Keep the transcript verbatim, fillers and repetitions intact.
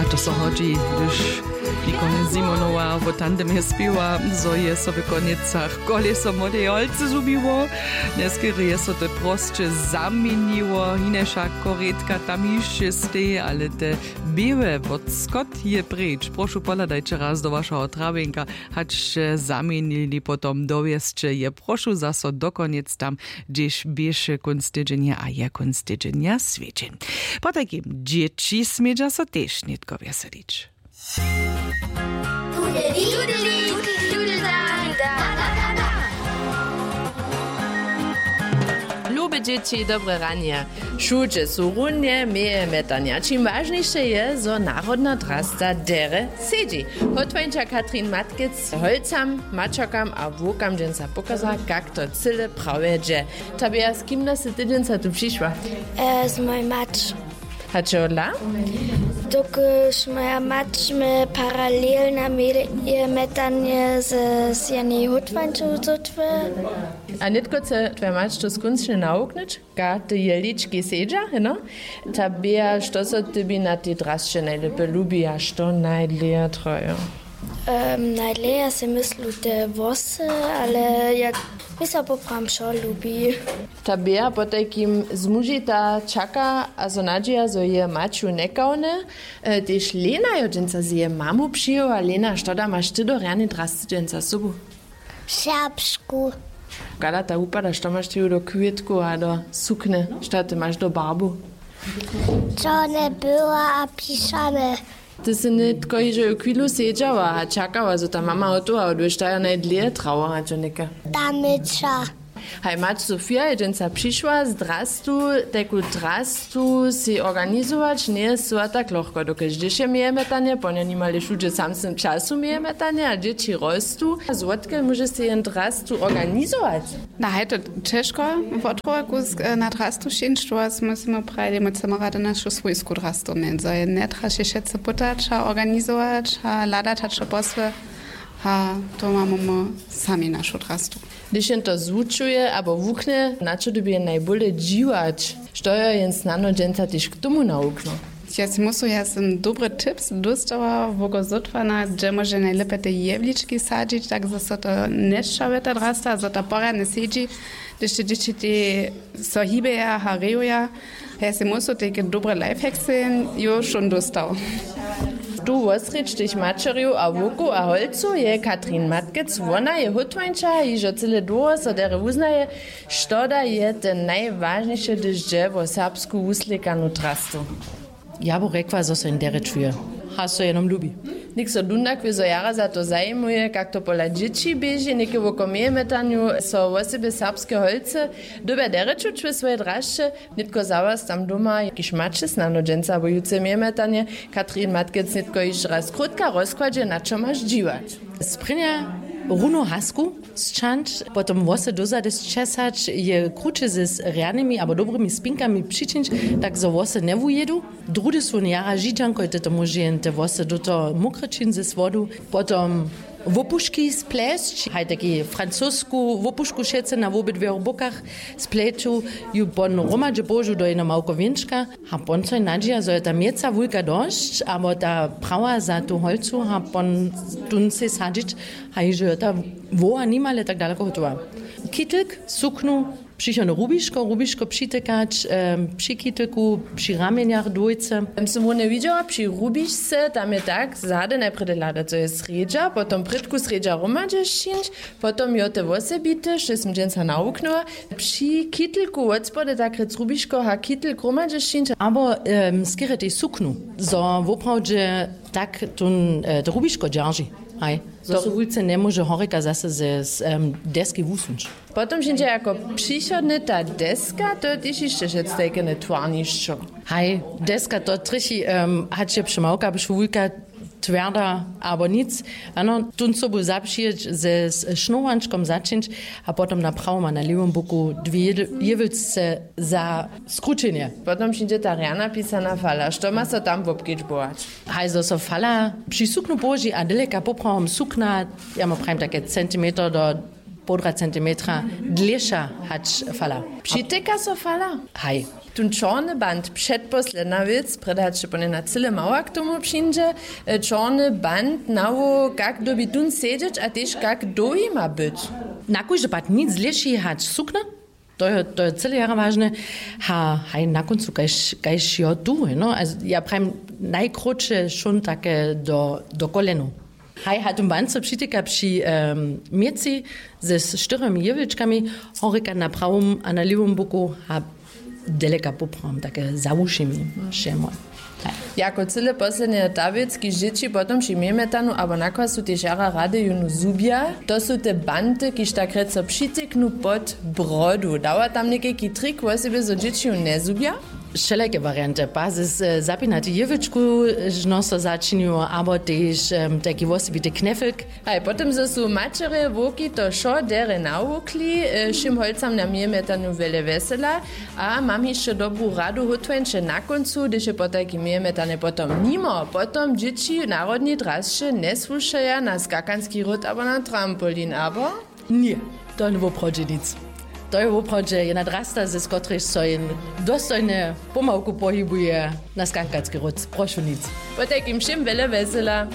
A to so hodźi, hdyž Nikolaj Simonowa wo tandemje spěwa, zo je so w Konjecach koleso młodej holcy zhubiło. Njeskerje je so to prosće zaměniło, hinašak korědka tam hišće steji, ale te běłe wotskot je preč. Prošu, pohladajće raz do wašeho trawjenka, hač sće zaměnili potom dowjesće je, prošu, zaso do Konjec tam, hdźež běše kónc tydźenja a je kónc tydźenja swjedźeń. Potajkim dźěći smědźa so tež nětko wjeselić. Lube dźěći, dobre ranje. Wšudźe su runje mjeje mjetanja. Čim wažniše je, zo narodna drasta derje sedźi. Hotwańča Katrin Matkec holcam, mačerkam a wowkam dźensa pokaza, kak to cyle prawje dźe. Tabea, z kim da sy ty dźensa tu přišła? E, z mojej mać. Hač hodla? Dokelž moja mać mje paralelna mjeje mjetanje z, z jenej hutwańčow zótwy. A nětko chce twoja mać to skónčnje nawuknyć? Kak te jehlički sedźa, heno? Tabea, što so tebi na tej drasće najlěpje lubi a što najdlěje trajo? Em, najdlěje sej myslu te włosy, ale ja, mi so poprawom wšo lubi. Tabea potajkim zmužita, čaka a so nadźija, zo je maću njekawne. E, tež Lena jo dźensa z jeje mamu přijěła. Lena, što da maš ty do rjanej drasty dźensa sobu? Serbsku. Kada ta wupada, što maš ty do kwětkow a do suknje, što ty maš do barbow? Čorne, była a pišane. Ty sy nětko hižo ju chwilu sedźała a čakała, zo ta mama hotowa, a hdyž ta jo najdlěje trawa, hač jo něka. Ta myča. Haj, mać Sofia je dźensa přišła z drastu, tajku drastu sej organizować njeje sła tak lochko, dokelž dźěše mjeje mjetanje, po nje nimale wšudźe w samsnym času mjeje mjetanje a dźěći rostu. A zwotkel móže sej jen drastu organizować? Na haj, to ćežko. Wotruja kusk, e, na drastu šinć, tu was musimy prajili, my chcemy rady našu swójsku drastu měć, zo je njetraše wšetcy pytać a organizować a hladać hač to posły. A to mamy my sami našu drastu. Hdyž jen to zwučuje abo wuchne, na čo dyrbi jen najbóle dźiwać? Što jo jen snano dźensa tež k tomu nawuknył? Ja sej myslu, ja sym dobry tips dóstała, woko zótwana, hdźe móže najlěpje te jewlički sadźić, tak zo so to njesćawje ta drasta, zo ta porjadnje sedźi, hdyž te dźěći te so hibeja a rejuja. Ja sej myslu, tajke dobre lifehacksy jo wšón dóstał. Tu wosrjedź tych maćerjow a wowkow a holcow je Katrin Matkec. Wona je hutwańča, hižo cyle dołho so derje wuznaje. Što da je te najwažniše, hdyž dźe wo serbsku wuslěkanu drastu? Ja bu rjekła, zo so jen derje čuje. Hač so jenom lubi. Něk so dundak wězo jara za to zajimuje, kak to pola dźěći běži, něke woko mjeje mjetanju so wosebje serbske holcy dyrbja derje čuć we swojej drasće. Nětko za was tam doma, kiž maće snano dźensa abo jutře mjeje mjetanje, Katrin Matkec nětko hišće raz krótka rozkładźe, na čo maš dźiwać. Sprěnja runu hasku sćahnyć, potom włosy dozady sćesać, je kruće z rjanymi abo dobrymi spinkami přičińć, tak zo włosy njewujědu. Druhdy su jara židźanko, je to móže jen te włosy do toho mokre čiń z wodu. Potom wopuški splesć, haj, taki francosku wopušku wšetcy na wobydwěch bokach spleću, ju pon hromadźe połožu do jedno małko wěnčka. A pon so nadźija, zo je ta mjeca wulka dosć, abo ta prawa za tu holcu, a pon tón sej sadźić, a hižo jo ta woła nimale tak daleko hotowa. Kitelk, suknu, přichodne rubiško, rubiško přitekać, em, při kitelku, při ramjenjach dwójce. Em, sym runje widźała, při rubišce, tam je tak, zady najprjedy hladac, zo je srjedźa, potom prědku srjedźa hromadźe sćińć, potom jo te wosebite, što sym dźensa nawuknyła, při kitelku wot spody tak rěc rubiško a kitelk hromadźe sćińć. Abo, em, skerje tež suknu, zo woprawdźe tak tón, e, to rubiško dźerži. Haj. Zo so wulce njemóže horjeka zase ze, z, em, deski wusuńć. Potom přińdźe jako přichodne ta deska, to je tež hišće wšetc tajke twarnišćo. Haj, deska to trjechi, em, hač je přemałka, byš wulka, twjerda abo nic. Ano, tón sobu zapřijeć, ze s-, šnowančkom začińć a potom na prawom a na lěwom boku dwě jewylce za skrućenje. Potom přińdźe ta rjana pisana fala. Što ma so tam wobkedźbować? Haj, zo so fala při suknu połoži a daleka poprawom sukna, ja mu prajim, take centimeter do połdra centimetra dlěša hač fala. Přityka so fala? Haj. Tón čorny band, předposledna wěc, prjedy hač ponjena cyle mała k tomu přińdźe. Čorny band nawoł, kak dyrbi tón sedźeć a tež kak dołhi ma być. Na kóždy pad nic lěši hač sukna. To je to je cyle jara wažne. Ha haj na kóncu kaž jo tu no, ja prajim, najkrótše šón take do kóljenow. Haj ha tón band so přityka při měci ze štyrjomi jěwlčkami, horjeka na prawom a na lěwom boku, ha deleka poprawom take za wušimi. Wšemo. Jako cyle poslednje ta wěc kiž dźěći potom při měmetanu abo na kwasu tež jara rady jónu zhubja. To su te banty kiž tak rěco přityknu pod brodu dawa tam někajki trik wosebje zo dźěći jónu njezhubja. Wšelake warianty pa z zapinati jěwlčku žno so začinju abo tež tajki wosebity knefelk. Haj potom zo su maćerje wowki to wšo derje nawukli, wšěm holcam na měmetanu wjele wjesela. A mam hišće dobru radu hótłeńće na kóncu hdyž je potajki mějemetane potom nimo potom dźěći w narodnej drasće njesłušaja na skakanski ród abo na trampolin abo. Ně. To je woprawdźe nic. To je woprawdźe jedna drasta z kotrejž so jen dostojnje pomałku pohibuje na skankanski ród prošu nic. Potajkim wšěm wjele wjesela.